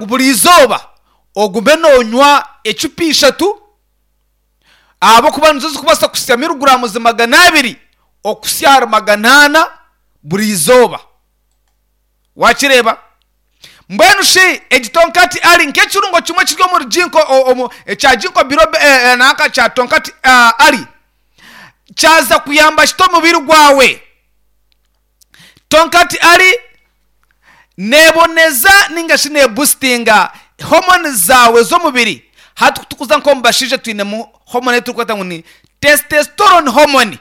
Buri izooba ogume noonywa ecupa ishatu ahabw'okuba nizo zirikubaasa kuhitsya miriguraamuzi 200 okuhitsya ahari 400 buri izooba. Waakireeba? Mbwenu shi egi Tonkati Ali nk'ekirungo kimwe ekiri omuri Ginkgo omu ekya Ginkgo biloba nanka kya Tonkati Ali kyaza kuyamba kita omubiri gwawe? Tonkati Ali neeboneza ninga shi neebusitinga hormones zaawe z'omubiri. Hati ku turikuza nk'omu bashaija twinemu hormone ei turikweta ngu ni testosterone hormone.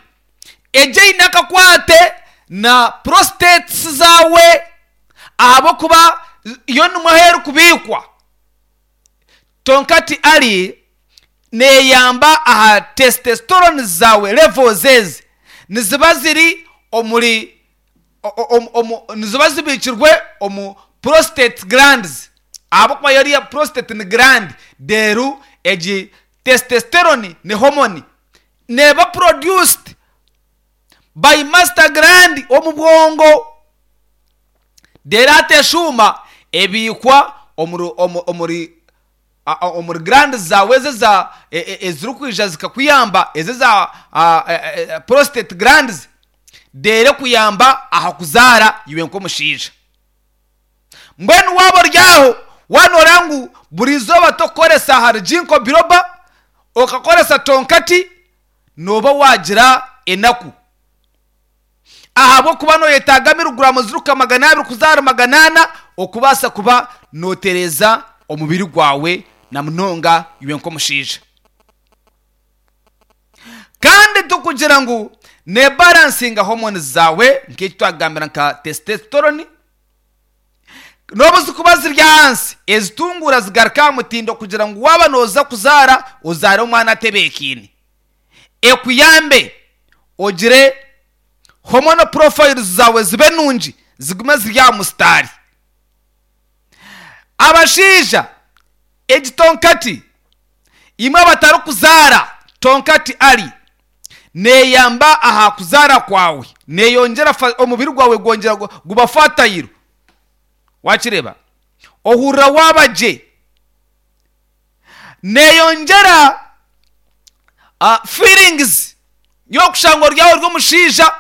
Egi eine akakwate na prostates zaawe ahabw'okuba yo nimwo ahu erikubiikwa. Tonkati Ali neeyamba aha testosterone zaawe levels ezi niziba ziri omuri niziba zibiikirwe omu prostate glands ahabw'okuba yo eriya prostate ni gland reero egi testosterone ni hormone neeba produced by master gland omu bwongo reero hati eshuuma ebiikwa omuri omuri omuri gland zaawe ezi eza ezirikwija zikakuyamba ezi eza prostate glands reero ekuyamba aha kuzaara iwe nk'omushaija. Mbwenu waaba ori aho waaba nooreeba ngu buri izooba tokukoresa ahari Ginkgo biloba, okakoresa Tonkati, nooba waagira enaku. Ahabw'okuba nooyetaaga miriguraamu zirikuhika 200 kuza ahari 400 okubaasa kuba nootereeza omubiri gwawe na munonga iwe nk'omushaija. Kandi tikugira ngu neebaransinga hormones zaawe nk'eki twakugambira nka testosterone, n'obu zikuba ziri ahansi, ezitunguura zigaruka aha mutindo kugira ngu waaba nooza kuzaara ozaare omwana atebeekaine. Ekuyambe ogire hormonal profiles zaawe zibe nungi zigume ziri aha musitaari. Abashaija egi tonkati Imwe abatarikuzaara, Tonkati Ali neeyamba aha kuzaara kwawe, neeyongyera omubiri gwawe gwongyera guba fertile. Waakireeba? Ohurira waaba gye. Neeyongyera feelings y'okushanga ori aho ori omushaija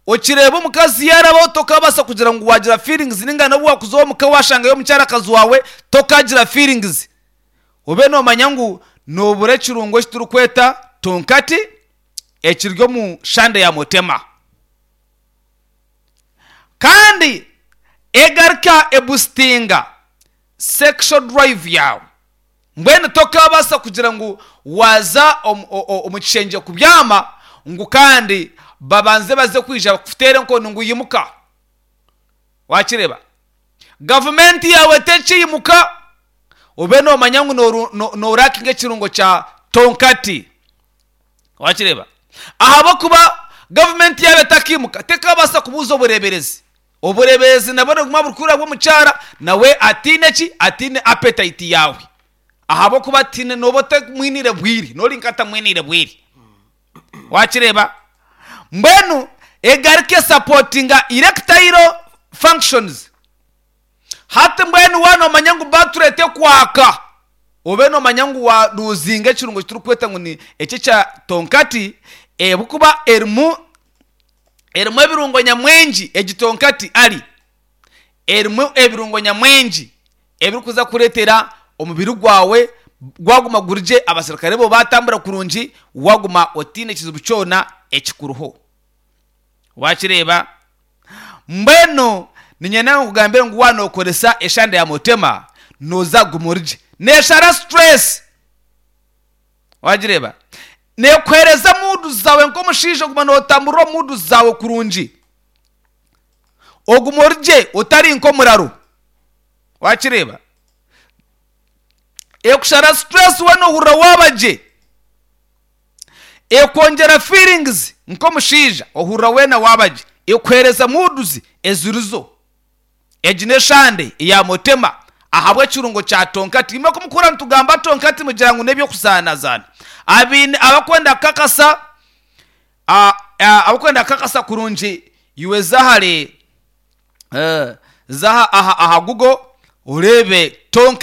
okireeba omukazi yaarabaho tokabaasa kugira ngu waagira feelings nainga n'obu waakuza omuka waashangayo omukyarakazi waawe tokaagira feelings. Obe noomanya ngu noobura ekirungo eki turikweta tonkati ekiri omu shande ya motema. Kandi egaruka ebusitinga sexual drive yaawe. Mbwenu tokaabaasa kugira ngu waaza omu kishengye kubyama ngu kandi babanze baze kwija bakuteere enkoni ngu imuka. Waakireeba? Gavumenti yaawe tekiimuka. Obe noomanya ngu noorakinga ekirungo kya tonkati. Wakireeba? Ahabw'okuba gavumenti yaaba etakiimuka, tekabaasa kubuuza obureeberezi. Obureeberezi nabwo nibuguma burikuhurira bw'omukyara nawe ataine ki? Ataine appetite yaawe. Ahabw'okuba tihaine nooba otamwiniire bwire, noori nk'atamwiniire bwire. Wakireeba? Mbwenu egaruke esapootinga erectile functions. Hati mbwenu waaba noomanya ngu battery tekwaka, obe noomanya ngu waaruuzinga ekirungo eki turikweta ngu ni eki ekya tonkati, ahabw'okuba erimu erimu ebirungo nyamwingi, egi tonkati ari erimu ebirungo nyamwingi ebirikuza kureetera omubiri gwawe gwaguma guri gye, abaserukare bo baatambura kurungi, waaguma otaine kizibu kyona ekikuriho. Waakireeba? Mbwenu niinyenda nkugambire ngu waaba nookoresa eshande ya Mutema, nooza kuguma ori gye. Neeshara stress. Waagireeba? Neekuheereza muudu zaawe nk'omushaija oguma nootamburira omu muudu zaawe kurungi. Oguma ori gye otari nk'omuraru. Waakireeba? Ekushara stress weena ohurira waaba gye. Ekwongyera feelings nk'omushaija ohurira weena waaba gye. Ekuheereza moods ezirizo. Egi n'eshande eya Motema ahabw'ekirungo kya Tonkati. Imwe ku mukuhurira nitugamba Tonkati mugira ngu n'eby'okuzaanazaana. Abaine abakwenda kukakasa abakwenda kukakasa kurungi iwe za ahari za aha Google. Oreebe tonka.